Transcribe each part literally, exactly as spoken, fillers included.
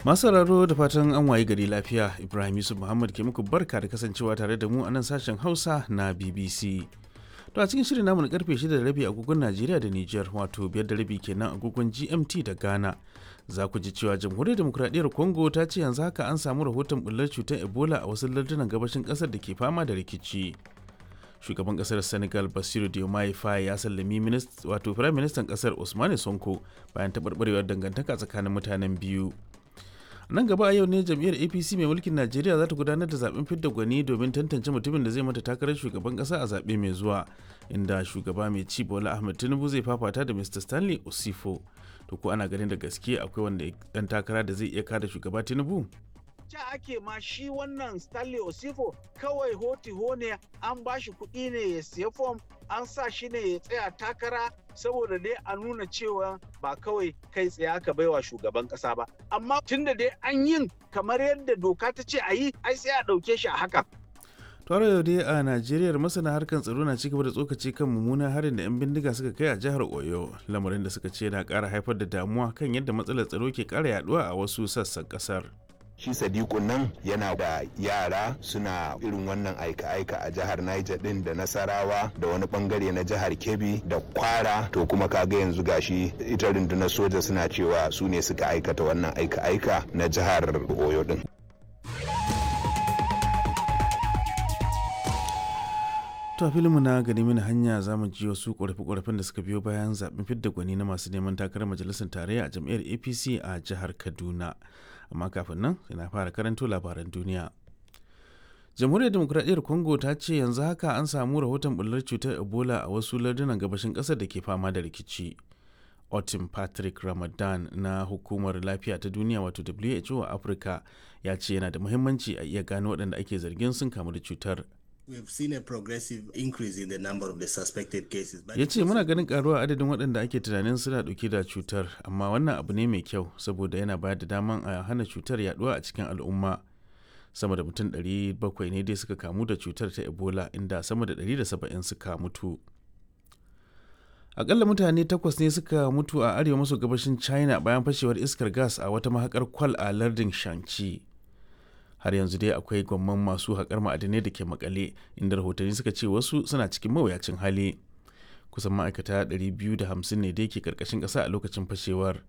Masu sauraro, da fatan an wayi gari lafiya. Ibrahim Yusuf Muhammad ke muku barka da kasancewa tare da mu a nan sashen Hausa na B B C. To, a cikin shirin namu na karfe shida da rabi agogon Najeriya da Nijar, wato biyar da rabi kenan agogon G M T da Ghana, za ku ji cewa Jamhuriyar Demokuraɗiyyar Congo ta ce yanzu haka an samu rahoton bullar cutar Ebola a wasu lardunan gabashin ƙasar da ke fama da rikici. Shugaban kasar Senegal Basiru Diomaye Faye ya sallami wato Firayim Ministan kasar Ousmane Sonko bayan taɓarɓarewar dangantaka tsakanin mutanen biyu. Nan gaba a yau ne jam'iyyar A P C mai mulkin Najeriya za ta gudanar da zaben fidda gwani domin tantance mutumin da zai mata takarar shugaban kasa a zaɓe mai zuwa, inda shugaba mai ci Bola Ahmed Tinubu zai fafata da Mister Stanley Osifo. To, ko ana ganin da gaske akwai wanda dan takara da zai iya kada shugaba Tinubu? Ca ake ma shi wannan Stanley Osifo kawai hoti ne, an ba shi kuɗi ne ya siya fom, an sa shi ne ya tsaya takara saboda dai a nuna cewa ba kawai kai tsaye aka baiwa shugaban ƙasa ba. Amma tunda dai an yin kamar yadda doka ta ce a yi, ai sai a ɗauke shi a haka. Tare yau dai a Najeriya, masana harkar tsaro na cigaba da tsokaci kan mummunan harin da 'yan bindiga suka kai a jihar Oyo, lamarin da suka ce na ƙara haifar da damuwa kan yadda matsalar tsaro ke ƙara yaduwa a wasu sassan ƙasar. Shi Sadiku nan yana da yara suna irin wannan aika-aika a jihar Niger din da Nasarawa da wani bangare na jihar Kebbi da Kwara. To, kuma kaga yanzu gashi ita rundunar soja suna cewa su ne suka aikata wannan aika-aika na jihar Oyo din. To, a filinmu na gani mini hanya, za mu ji wasu ƙorafe-ƙorafen da suka biyo bayan zaben fidda gwani na masu neman takarar majalisar tarayya a jam'iyyar A P C a jihar Kaduna. Amma kafin nan, ina fara karanto labaran duniya. Jamhuriyar Demokuraɗiyyar Congo ta ce yanzu haka an samu rahoton bullar cutar Ebola a wasu lardunan gabashin ƙasar da ke fama da rikici. Otin Patrick Ramadan na Hukumar Lafiya ta Duniya, wato W H O a Afirka, ya ce yana da muhimmanci a iya gano waɗanda ake zargin sun kamu da cutar. Ya ce muna ganin karuwa adadin waɗanda ake tunanin suna ɗauke da cutar, amma wannan abu ne mai kyau saboda yana bayar da daman a hana cutar yaduwa a cikin al'umma. Sama da mutum ɗari bakwai ne dai suka kamu da cutar ta Ebola, inda sama da ɗari da saba'in suka mutu. Akalla mutane takwas ne suka mutu a arewa maso gabashin China bayan fashewar iskar gas a wata mahakar kwal a lardin Shanxi. Har yanzu dai akwai gwamman masu haƙar ma'adinai da ke makale, inda rahotanni suka ce wasu suna cikin mawuyacin hali. Kusan ma'aikata ɗari biyu da hamsin ne dai ke karkashin ƙasa a lokacin fashewar.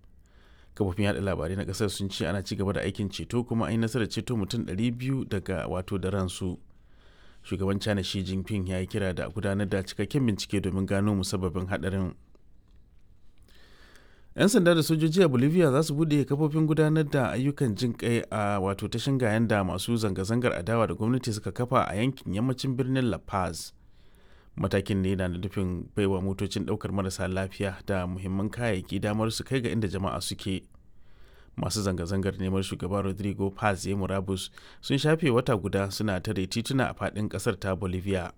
Kafofin yaɗa labarai na ƙasar sun ce ana ci gaba da aikin ceto, kuma an yi nasarar ceto mutum ɗari biyu daga wato da ransu. Shugaban China Xi Jinping ya yi kira da gudanar da cikakken bincike domin gano musabbabin haɗarin. 'Yan sanda da sojoji a Bolivia za su bude kafofin gudanar da ayyukan jin kai a wato ta shingayen da masu zanga-zangar adawa da gwamnati suka kafa a yankin yammacin birnin La Paz. Matakin ne na nufin baiwa motocin daukar marasa lafiya da muhimman kayayyaki damar su kai ga inda jama'a suke. Masu zanga-zangar neman shugaba Rodrigo Paz ya murabus sun shafe wata guda suna tare tituna a faɗin ƙasar ta Bolivia.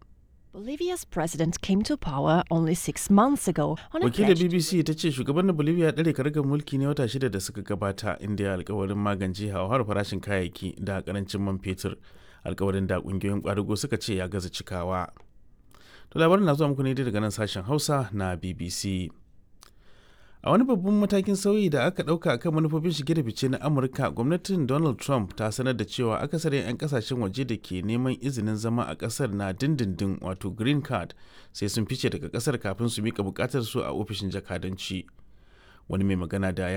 Bolivia's president came to power only six months ago on a Wakilar pledge B B C ta ce shugaban na Bolivia ya ɗare karagar mulki ne wata shida da suka gabata, inda ya alkawarin magance hauhawar farashin kayayyaki da karancin man fetur. Alkawarin da ƙungiyoyin ƙwadago suka ce ya gaza cikawa. To, labarin na zuwa muku ne daga nan sashen Hausa na B B C. A wani babban matakin sauyi da aka ɗauka akan manufofin shige da fice na Amurka, gwamnatin Donald Trump ta sanar da cewa akasarin 'yan kasashen waje da ke neman izinin zama a ƙasar na dindindin, wato green card, sai sun fice daga ƙasar kafin su mika buƙatar su a ofishin jakadanci. Wani mai magana da